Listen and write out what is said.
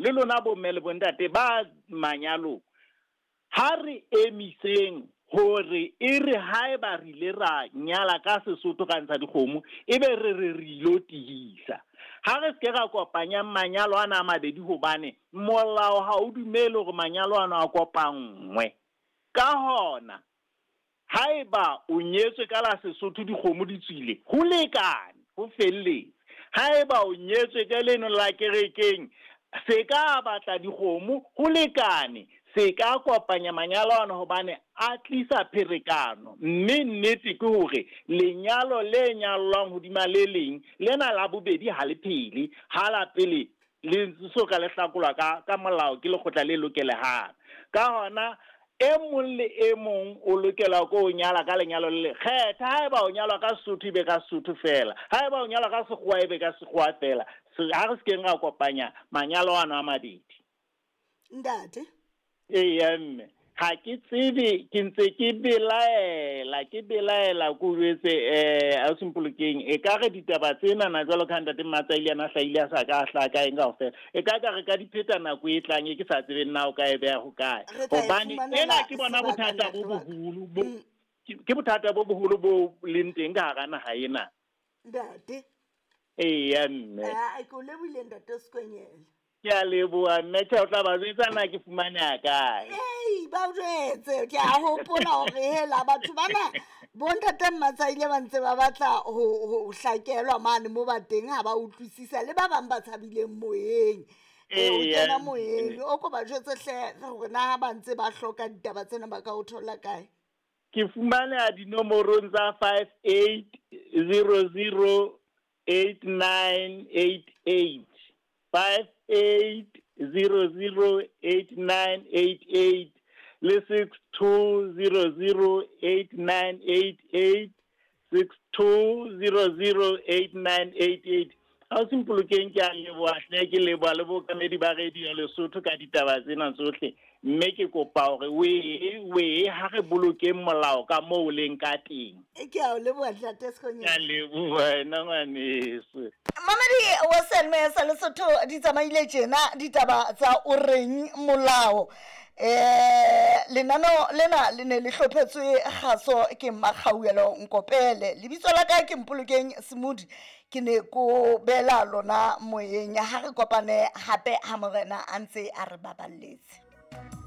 Le lona bomme le bontate ba manyalong, ha re emiseng hore e re haeba re ile ra nyala ka Sesotho ra ntsha dikgomo, ebe re re re ilo tihisa. Ha re se ke ra kopanya manyalo ana a mabedi hobane molao ha o dumele hore manyalo ana a kopanngwe. Ka hona, haeba o nyetswe ka la Sesotho dikgomo di tswile, ho lekane, ho felletse. Haeba o nyetswe ka leno la kerekeng, se ka batla dikgomo, ho lekane. Se ka kopanya manyalo ana hobane a tlisa pherekano. Mme nnete ke hore lenyalo le nyallwang hodima le leng, lena la bobedi ha le phele, ha la pele le so ka le hlakolwa ka molao ke lekgotla le lokelehang. Ka hona, e mong le e mong o lokela ko o nyala ka lenyalo le le kgetha. Haeba o nyalwa ka Sesotho, ebe ka Sesotho fela. Haeba o nyalwa ka Sekgowa, ebe ka Sekgowa fela. Ha re se keng ra kopanya manyalo ano a mabedi. Ntate. Eya mme, ha ke tsebe, ke ntse ke belaela, ke belaela ko jwetse ausi Mpolokeng, e ka re ditaba tsena na jwalo ka ntate Mmatsaile a na hlahile a sa ka a hlaha ka eng kaofela. E ka ka re ka di pheta nako e tlang e ke sa tsebeng na o ka e beha ho kae. Re tla e Hobane fumanela ena ke bona sebaka, bothata bo ntate wa ka. boholo bo ke bothata bo boholo bo leng teng ka hara naha ena. Ntate. Eya mme. Ah, ke o lebohile ntate Sekwenyela. Ke a leboha mme, tjhe o tla ba jwetsa na ke fumaneha kae. Ei, ba o jwetse, ke a hopola hore hela batho bana bontate Mmatsaile ba ntse ba batla ho hlakelwa mane mo ba teng, ha ba utlwisisa le ba bang ba tshabileng moyeng. O Eya. kena moyeng, o ko ba jwetse hle hore na ha ba ntse ba hloka ditaba tsena ba ka o thola kae. Ke fumaneha dinomorong tsa 58008988. 58008988 le 62008988, 62008988. Ausi Mpolokeng, ke a leboha hle, ke leboha le bookamedi ba Radio Lesotho ka ditaba tsena tsohle. Mme ke kopa hore wee ha re bolokeng molao ka moo o leng ka teng. Ke a o leboha ntate Sekgonyela. Ke a leboha wena ngwaneso. Mamedi wa Selme sa Lesotho di tsamaile tjena ditaba tsa o reng molao. Lenaneo lena le ne le hlophetswe kgaso ke Mmakgauelo Nkopele. Lebitso la ka ke Mpolokeng Semudi. Ke ne ko bela lona moyeng. Ha re kopane hape ha morena a ntse a re baballetse.